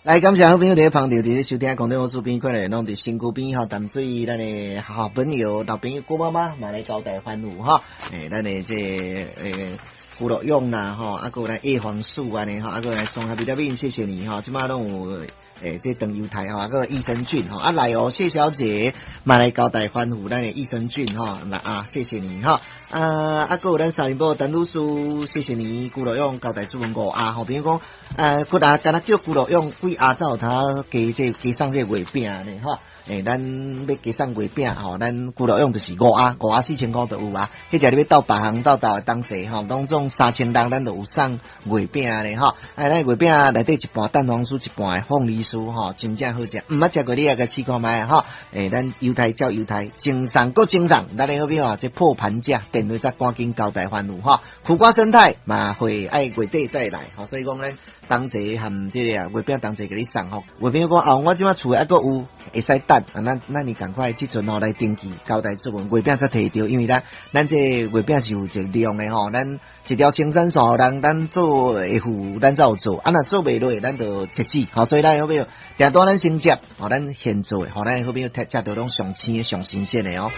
來，感謝好朋友佇咧捧場，佇咧收聽空中好厝邊，看來攏佇身軀邊吼，淡水咱的好朋友、老朋友郭媽媽嘛來交代歡呼吼。咱的這個，胡樂勇啦吼，啊，閣有咱葉黃素按呢吼，啊，閣來綜合維他命，謝謝你吼，這擺攏有這長猶太吼，啊，閣益生菌吼，啊來哦，謝小姐嘛來交代歡呼咱的益生菌吼，來啊，謝謝你吼，啊，閣有咱三林寶陳女士，謝謝你，辜樂勇交代出門五盒吼，比如講，閣若敢若叫辜樂勇幾盒才有通加這加送這個月餅呢吼。咱欲加送月餅吼，咱辜樂勇就是五盒，五盒4000箍就有啊。彼隻你欲鬥別項鬥鬥的東西吼，攏總3000人，咱就有送月餅咧吼。哎，咱月餅內底一半蛋黃酥，一半的鳳梨酥吼，真正好食。毋捌食過你也共試看覓吼。咱猶太照猶太，精送閣精送，咱的好朋友啊，這破盤價，電話才趕緊交代歡呼吼。苦瓜生態嘛會愛月底再來吼，所以講咱同齊含這個啊月餅同齊共你送吼。月餅講啊，我這擺厝的猶閣有，會使等。啊，那你趕快這陣吼來登記交代出門月餅才提著，因為咱這月餅是有一個量的吼，咱一條青山線人，咱做會付，咱才有做，啊，若做袂落，咱就截止，吼，所以咱好朋友訂單咱先接，吼，咱現做的，吼，咱好朋友食著攏上鮮、上新鮮的哦。